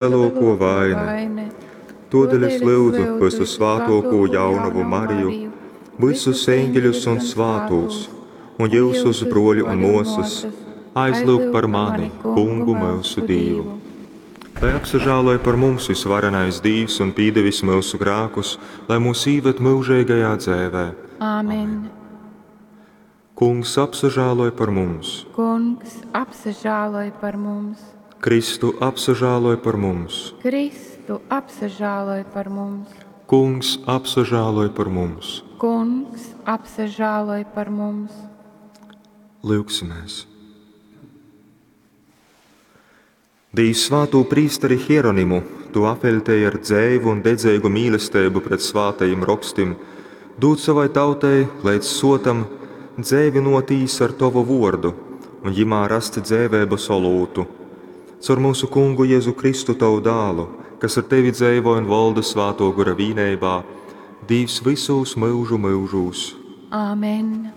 Vislielāko vaine. Todēļ es lyudzu vysusvātōkū jaunovu Mariju, vysus eņģeļus un svātūs, un jyusus, brōļi un mōsas, aizlyugt par mani Kungu myusu Dīvu. Lai apsažāloj par mums vysvarenais Dīvs un pīdevis myusu grākus, lai mūs īved myužeigajā dzeivē. Āmen. Kungs apsažāloj par mums. Kungs apsažāloj par mums. Kristu apsažāloj par mums. Kristu apsažāloj par mums. Kungs apsažāloj par mums. Kungs apsažāloj par mums. Lyugsimies! Dīvs svātū prīsteri Hieronimu tu apveļtēji ar dzeivu un dedzeigu mīlesteibu pret svātajim rokstim, dūd sovai tautai leidz sotam dzeivynōtīs ar tovu vōrdu un jimā rast dzeiveibas olūtu. Caur myusu Kungu Jezu Kristu, tovu dālu, kas ar tevi dzeivoj un volda Svātō Gora vīneibā, Dīvs vysūs myužu myužūs. Āmen.